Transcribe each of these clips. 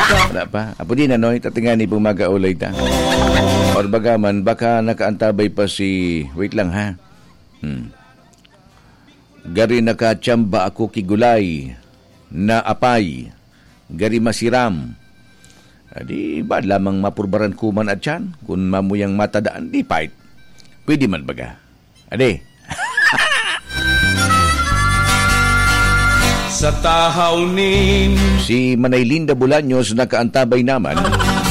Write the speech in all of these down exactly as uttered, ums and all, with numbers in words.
Wala pa. Apo di na, no? Itatingan ni pong mag-aulay ta. Or baga man, baka nakaantabay pa si, wait lang, ha? Hmm. Gari nakachamba ako ki gulay na apay. Gari masiram. Adi, ba lamang mapurbaran kuman at yan? Kung mamuyang matadaan, di pait. Pwede man baga. Adi. Sa tahaw nin Si Manay Linda Bolaños nakaantabay naman.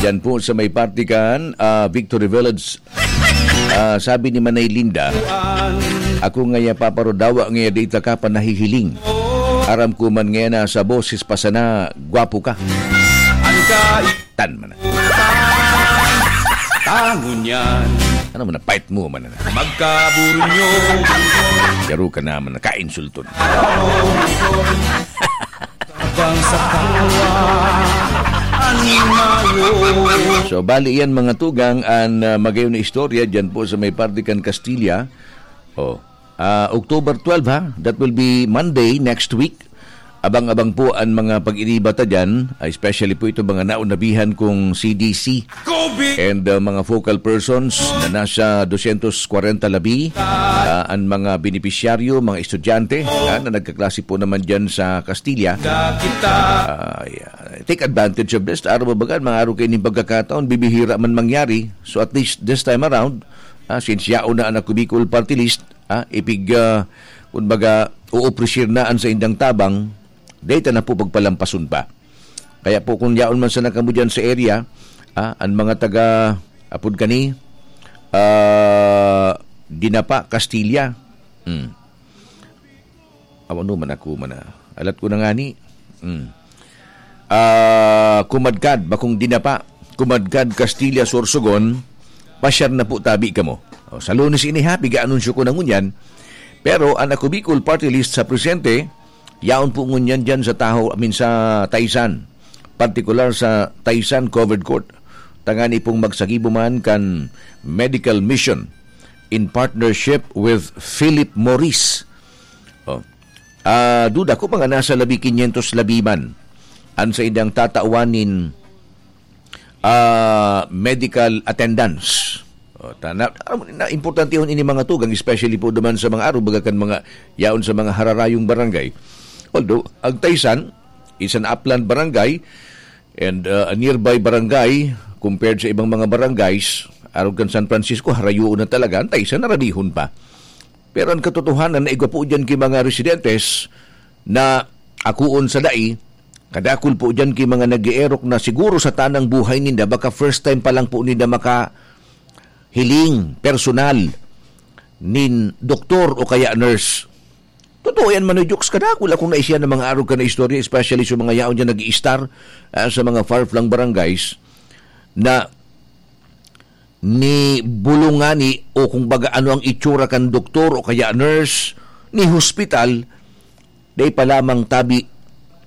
Diyan po sa may parte kan, ah, Victory Village. Ah, sabi ni Manay Linda, "Ako ngaya, Papa Ro, dawa ngaya di ta ka pa nahihiling. Aram ko man ngaya na sa boses pa sana, gwapo ka." Ang kai- Tan man na. Tangon yan. Ano man na, pait mo man na. Magkaburunyo. Garo ka naman na, kainsulton. Bang sa tawa, animayo. So, bali yan, mga tugang, an, ah, magayon na istorya dyan po sa may parte kan Castilla. Oh, ah, October twelve, ha? That will be Monday next week. Abang-abang po ang mga pag-iniba ta dyan, especially po itong mga naonabihan kong C D C and, uh, mga focal persons na nasa dosyentos kwarenta labi, uh, ang mga benepisyaryo, mga estudyante, uh, na nagkaklase po naman dyan sa Castilla. Uh, yeah. Take advantage of this. Araw ba baga, mga araw kayo ning pagkakataon, bibihira man mangyari. So at least this time around, uh, since yaon na ang Ako Bicol Party List, ah, ipig, ah, kumbaga, uopresir na an saindang tabang, dai ta na po pagpalampason pa. Kaya po, kung yaon man sana kamo diyan sa area, ah, an mga taga, apod kani, ah, Dinapa, Castilla. Hmm. Awan man ako man, ah. Alat ko na ngani. Hmm. Ah, kumadkad, bakong Dinapa, kumadkad Castilla, Sorsogon, pasyar na po tabi kamo. O, sa Lunes ini, ha, piga-anunsyo ko na ngunyan. Pero an Ako Bicol Party List sa presente, yaon po ngunyan diyan sa Tahaw, I mean, sa Taysan. Partikular sa Taysan Covered Court. Tangani pong magsagibo man kan medical mission in partnership with Philip Morris. Oh. Ah, duda ko, mga nasa labi kinyentos labi man an saindang tatawan nin, ah, medical attendance. Oh, ta-, na, na, importantehon ini, mga tugang, especially po duman sa mga araw, baga kan mga yaon sa mga hararayong barangay. Although, ang Taysan is an upland barangay, and, uh, a nearby barangay, compared sa ibang mga barangays, arog kan San Francisco, harayoon na talaga, an Taysan narabihon pa. Pero an katotohanan na igwa po diyan ki mga residentes na akoon sa dai, kadakul po diyan ki mga nag-eerok na siguro sa tanang buhay ninda, baka first time pa lang po ninda makahiling personal nin doktor o kaya nurse. Totoo yan, Manoy Jokes. Kadakul akong naisihan ng mga arog ka na istorya, especially sa mga yaon dyan nag-i-star, ah, sa mga far-flung barangays, na ni bulong ngani o kung baga ano ang itsura kan doktor o kaya nurse, ni hospital, dai pa lamang tabi,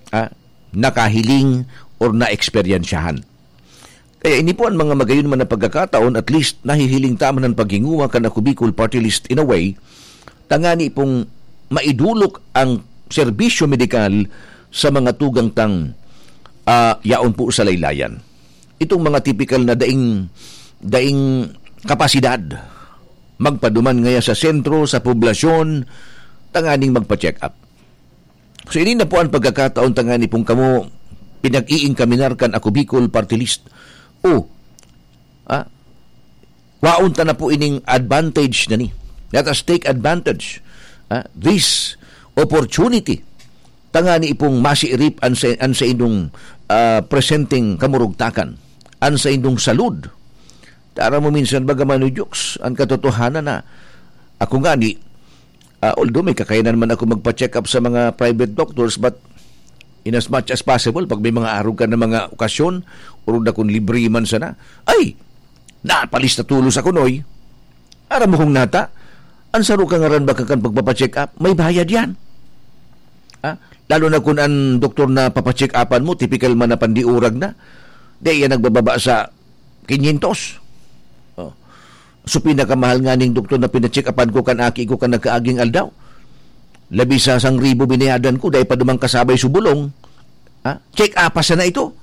ah, nakahiling or naeksperyensyahan. Kaya ini po an mga magayon man na pagkakataon, at least nahihiling ta man an paghinguha kan Ako Bicol Party List in a way, tangani pong maidulok ang serbisyo medikal sa mga tugang tang, ah, yaon po sa laylayan. Itong mga tipikal na daing, daing kapasidad, magpaduman ngaya sa sentro, sa poblasyon, tanganing magpa-check up. So, ini na po an pagkakataon tangani pong kamo pinag-iingkaminar kan Ako Bicol Party List. O, ah, waon ta na po ining advantage na ni. Let us take advantage, ah, this opportunity. Tangani pong masiirip an sa, an sa inyong, ah, presenteng kamurugtakan, an sa inyong salud. Tara mo minsan baga, Manoy Jokes, an katotohanan na ako ngani, Ah, although may kakayanan man ako magpa-check up sa mga private doctors, but in as much as possible, pag may mga arog ka na mga okasyon, orog na kung libre man sana, ay, napalista tulos ako, Noy. Aram mo kung nata, ang saro ka ngaran baka kan pagpapa-check up, may bayad yan. Ah, lalo na kung ang doktor na papacheck upan mo, typical man na pandiurag na, di yan nagbababa sa kinyentos. Oh. So, pinakamahal nga ning doktor na pinacheck upan ko kan aki ko kan nagkaaging aldaw. Labi sa sang ribo binayadan ko, dahil pa dumang kasabay subulong. Ha? Check up pa sana ito.